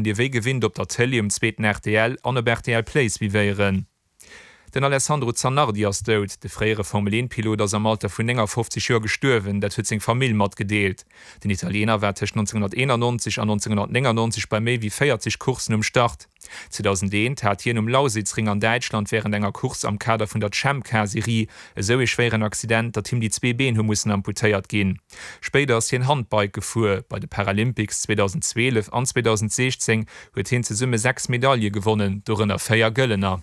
Dir wéi gewinnt op der Tëlee um zweeten rtl an op rtl Play suivéieren. Den Alessandro Zanardi ass dout. De fréiere Formel 1 Pilot ass am Alter vun 59 Joer gestuerwen, dat huet seng Famill matgedeelt. Den Italiener war tëscht 1991 an 1999 bei méi wéi 40 Courssen um Start. 2001 hat hien um Lausitzring an Däitschland wärend enger Course am Kader vun der Champ-Car-Serie esou ee schwéieren Accident, datt him déi zwee Been hu mussen amputéiert ginn. Spéider ass hien Handbike gefuer. Bei de Paralympics 2012 an 2016 huet hien zesumme 6 Medaile gewonnen, dorënner 4 gëllener.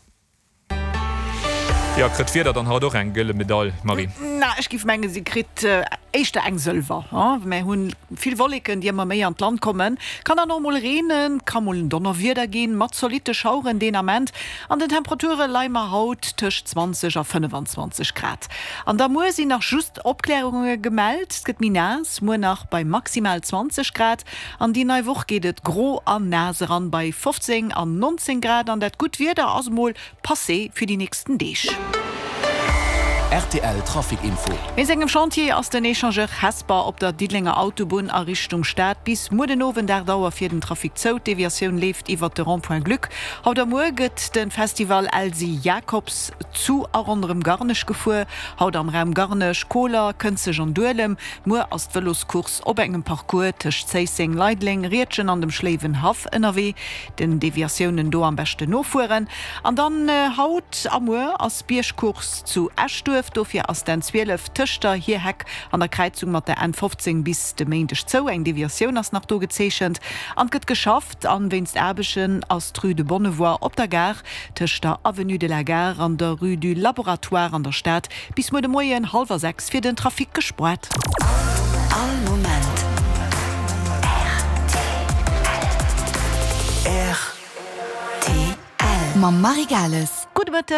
Jo, kritt d'Wieder dann haut och eng gëlle Medail, Marie? Na, ech giff mengen, si kritt éischter eng sëlwer. Mär hunn vill Wolleken, déi ëmmer méi an d'Land kommen. Kann dann och mol reenen, ka mol en Donnerwieder ginn, mat zolitte Schaueren deen Ament. An den Temperature leie mer haut tëscht 20 a 25 Grad. An da muer sinn nach just Opklärunge gemellt, et gëtt méi naass, muer nach bei maximal 20 Grad. An déi nei Woch geet et gro an naass eran bei 15 an 19 Grad an dat gutt Wieder ass mol passé fir déi nächsten Deeg. Rtl Trafic Info. Wéinst engem Chantier ass den Echangeur Hesper op der Diddelenger Autobunn a Richtung Stad bis muer den Owend 8 Auer fir den Trafic zou. D'Deviatioun leeft iwwert de Rond-point Gluck. Haut a muer gëtt de Festival Elsy Jacobs zu a ronderëm Garnech gefuer. Haut am Raum Garnech, Koler, Kënzeg an Duelem. Muer ass d'Vëloscourse op engem Parcours tëscht Zéisseng, Leideleng, Riedgen an dem Schléiwenhaff ënnerwee. Den Deviatiounen do am beschten nofueren. An dann haut a muer ass Biergcourse zu Eschduerf. Dofir ass d'N 12 tëscht der Hierheck an der Kräizung mat der N 15 bis de Méindeg zou. Eng Deviatioun ass nach do gezeechent an et gëtt geschafft. An wéinst Aarbechten ass d'Rue de Bonnevoie op der Gare tëscht der Avenue de la Gare an der Rue du Laboratoire an der Stad bis muer de Moien hallwer 6 fir den Trafic gespoart. All Moment rtl. Mam Marie Gales. Gudde Mëtteg.